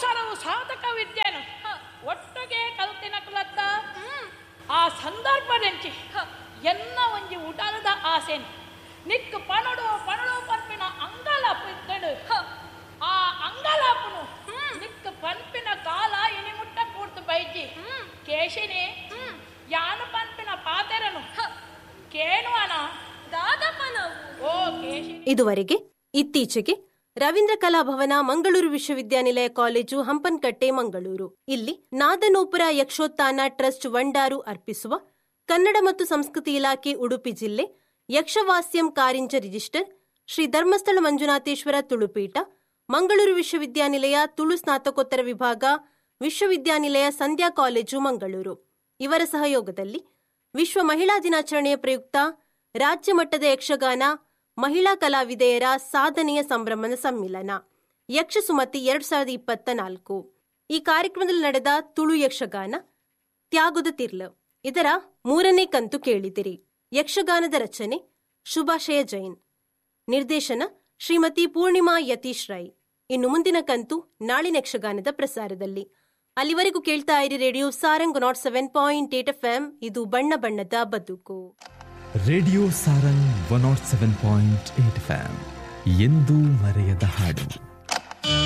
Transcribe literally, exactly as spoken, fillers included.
ಸರವು ಸಾಧಕ ವಿದ್ಯೆನು ಒಟ್ಟಿಗೆ ಕಲ್ತಿನ ಕುಲತ್ತ. ಆ ಸಂದರ್ಭದಂಚಿ ಎನ್ನ ಒಂಜಿ ಉಡಲದ ಆಸೆನ್ ನಿಕ್ ಪಣಡು ಪಣಡು ಪನ್ಪಿನ ಅಂಗಲಾಪು ಇತ್ತಡು. ಆ ಅಂಗಲಾಪುನು ನಿಕ್ ಪನ್ಪಿನ ಕಾಲ ಇನಿ ಮುಟ್ಟ ಕೂರ್ತು ಬೈಜಿ. ಕೇಶಿನಿ, ಯಾನು ಪನ್ಪಿನ ಪಾತೆರನು ಕೇಣುವನ? ಓ ಕೇಶಿನಿ. ಇದುವರೆಗೆ ಇತ್ತೀಚೆಗೆ ರವೀಂದ್ರ ಕಲಾಭವನ, ಮಂಗಳೂರು ವಿಶ್ವವಿದ್ಯಾನಿಲಯ ಕಾಲೇಜು, ಹಂಪನಕಟ್ಟೆ, ಮಂಗಳೂರು ಇಲ್ಲಿ ನಾದನೂಪುರ ಯಕ್ಷೋತ್ಥಾನ ಟ್ರಸ್ಟ್ ವಂಡಾರು ಅರ್ಪಿಸುವ ಕನ್ನಡ ಮತ್ತು ಸಂಸ್ಕೃತಿ ಇಲಾಖೆ ಉಡುಪಿ ಜಿಲ್ಲೆ ಯಕ್ಷವಾಸ್ಯಂ ಕಾರಿಂಜ ರಿಜಿಸ್ಟರ್ ಶ್ರೀ ಧರ್ಮಸ್ಥಳ ಮಂಜುನಾಥೇಶ್ವರ ತುಳುಪೀಠ, ಮಂಗಳೂರು ವಿಶ್ವವಿದ್ಯಾನಿಲಯ ತುಳು ಸ್ನಾತಕೋತ್ತರ ವಿಭಾಗ, ವಿಶ್ವವಿದ್ಯಾನಿಲಯ ಸಂಧ್ಯಾ ಕಾಲೇಜು, ಮಂಗಳೂರು ಇವರ ಸಹಯೋಗದಲ್ಲಿ ವಿಶ್ವ ಮಹಿಳಾ ದಿನಾಚರಣೆಯ ಪ್ರಯುಕ್ತ ರಾಜ್ಯ ಮಟ್ಟದ ಯಕ್ಷಗಾನ ಮಹಿಳಾ ಕಲಾವಿದೆಯರ ಸಾಧನೆಯ ಸಂಭ್ರಮದ ಸಮ್ಮಿಲನ ಯಕ್ಷಸುಮತಿ ಎರಡು ಸಾವಿರದ ಇಪ್ಪತ್ತ ನಾಲ್ಕು ಈ ಕಾರ್ಯಕ್ರಮದಲ್ಲಿ ನಡೆದ ತುಳು ಯಕ್ಷಗಾನ ತ್ಯಾಗದ ತಿರ್ಲು ಇದರ ಮೂರನೇ ಕಂತು ಕೇಳಿದಿರಿ. ಯಕ್ಷಗಾನದ ರಚನೆ ಶುಭಾಶಯ ಜೈನ್, ನಿರ್ದೇಶನ ಶ್ರೀಮತಿ ಪೂರ್ಣಿಮಾ ಯತೀಶ್ ರೈ. ಇನ್ನು ಮುಂದಿನ ಕಂತು ನಾಳಿನ ಯಕ್ಷಗಾನದ ಪ್ರಸಾರದಲ್ಲಿ. ಅಲ್ಲಿವರೆಗೂ ಕೇಳ್ತಾ ಇರಿ radio Sarang nought seven point eight F M. ಇದು ಬಣ್ಣ ಬಣ್ಣದ ಬದುಕು. Radio Sarang one nought seven point eight F M, ಎಂದೂ ಮರೆಯದ ಹಾಡು.